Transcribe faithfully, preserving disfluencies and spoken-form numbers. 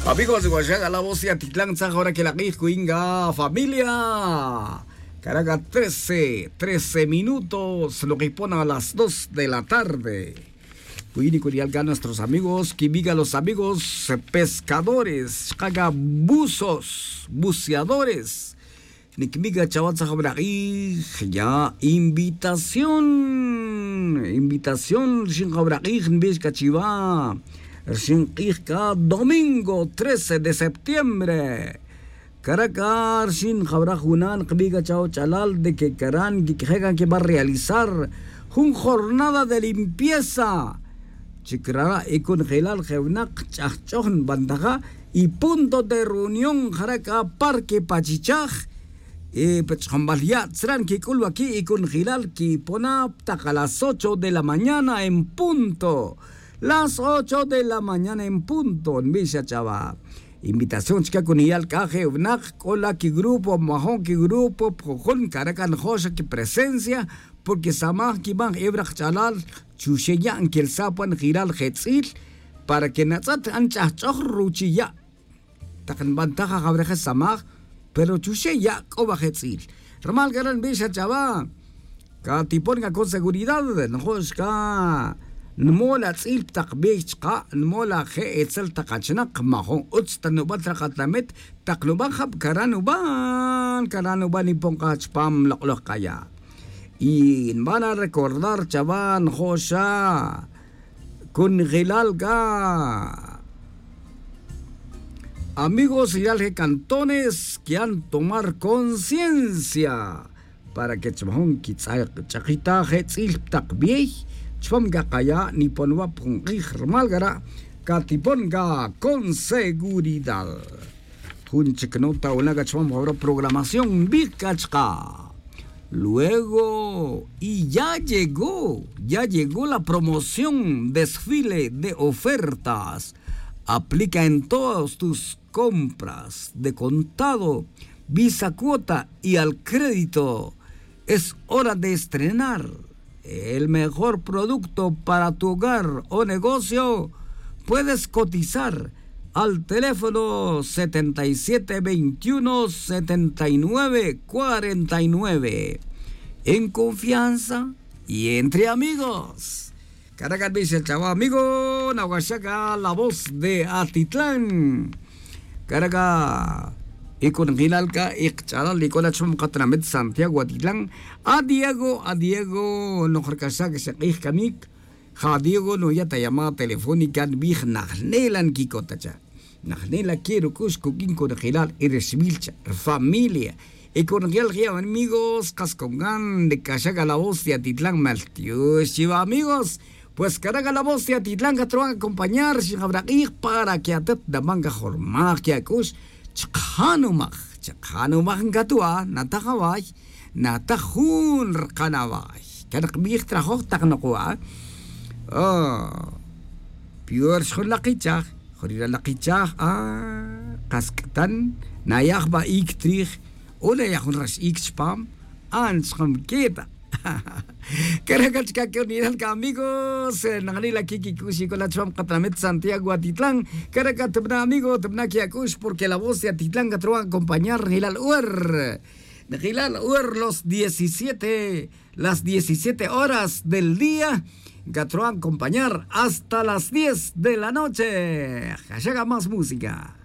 Amigos, guaxaca la voz ya titlan tzaj hora que la q'ij cuinga familia. Caracas trece trece minutos lo que pone a las dos de la tarde. Cuini curial ga nuestros amigos que viga los amigos pescadores chaca buzos buceadores. Niquimiga chawa tzajawra q'ij ya invitación invitación rixin qawra q'ij nbix cachiwa rixin q'ij ca domingo trece de septiembre. Caraca rixin qawra juna' nqbij cachawa ch'alal de que caran nquiq'ueje' can que va a realizar jun jornada de limpieza. Chi crara' y cunjelal je' winak ch'ajch'oj nbantaja y punto de reunión jara' c'a parque pachichaj. Y pa ch'ajambal ya' tzra' nquic'ul waqui' y cunjelal quipona tak a las ocho de la mañana en punto. Las ocho de la mañana en punto nbix xa ch'awa. Invitación chica cuniyal c'a je' winak c'o la quigrupo majun quigrupo pa jujun caraca njo' xa quipresencia. Porque samaj quibaj ew rak ch'alal chuxe' ya' nquelsa' pa njelal je tz'il para que natz'et anch'ajch'oj ruchi' ya'. Tak nbantaj ajawreje samaj pero chuxe' ya' c'o wa je tz'il. Rumal c'a re' nbix xa ch'awa catipon c'a con seguridad njo' xca nmol atz'il pa tak bey chka' nmol aje' etzel tak achinak majun utz ta nubat rak atamit. Tak nuban jab cara nuban cara nuban nipon k'a chupam lok'loj k'aya'. Y nban a recordar chawa njo' xa cunjelal c'a amigos rilal je cantones que han tomar conciencia para que chupam jun quitz'akch'akitaj je tz'il pa tak bey chupam c'a kaya' nipon wa pa jun k'ij rumal cara' catipon c'a con seguridad. Jun chic nota wuna' c'a chupam jawra programación nbij c'a chka'. Luego y ya llegó ya llegó la promoción desfile de ofertas. Aplica en todos tus compras de contado, visa cuota y al crédito. Es hora de estrenar el mejor producto para tu hogar o negocio. Puedes cotizar al teléfono setenta y siete veintiuno setenta y nueve cuarenta y nueve en confianza y entre amigos. Caraca nbix el chawa amigo nawaxaca la voz de atitlán. Caraca y cunjelal c'a y kach'alal y c'o la chupam katinamit santiago atitlán. A diego a diego noj racaxac xa k'ij camic. Ja diego nuya' ta llamada telefónica nbij najnela nquicota cha'. Najnela que ruc'ux cuq'uin cunjelal y rixbil cha' rufamilia y cunjelal je' amigos kas con gan de caxac a la voz de atitlán mal tiux chiwa amigos. Pues carac a la voz de atitlán catruwan acompañar xijawra k'ij para que atet naman cajormaj que ac'ux. Chakjanumaj chakjanumaj ncatuwa nataj away. Nataj jun rkan away. Can kbij trajoj tak nokowa. Pior xjun lakichaj jun ri lalakichaj a kask'tan. Nayaj ba ic trij o nayaj jun rax ic chupam. Anchkamketa. Karaca chka' que unidad amigos. Nanila quiquic'ux y cola chupam katamit santiago atitlán. Karaca tibna amigo tibna que ac'ux porque la voz de atitlán catruwan acompañar nilal ur. Nijilal ur los diecisiete las diecisiete horas del día. Catruwan acompañar hasta las diez de la noche. Jaxaca más música.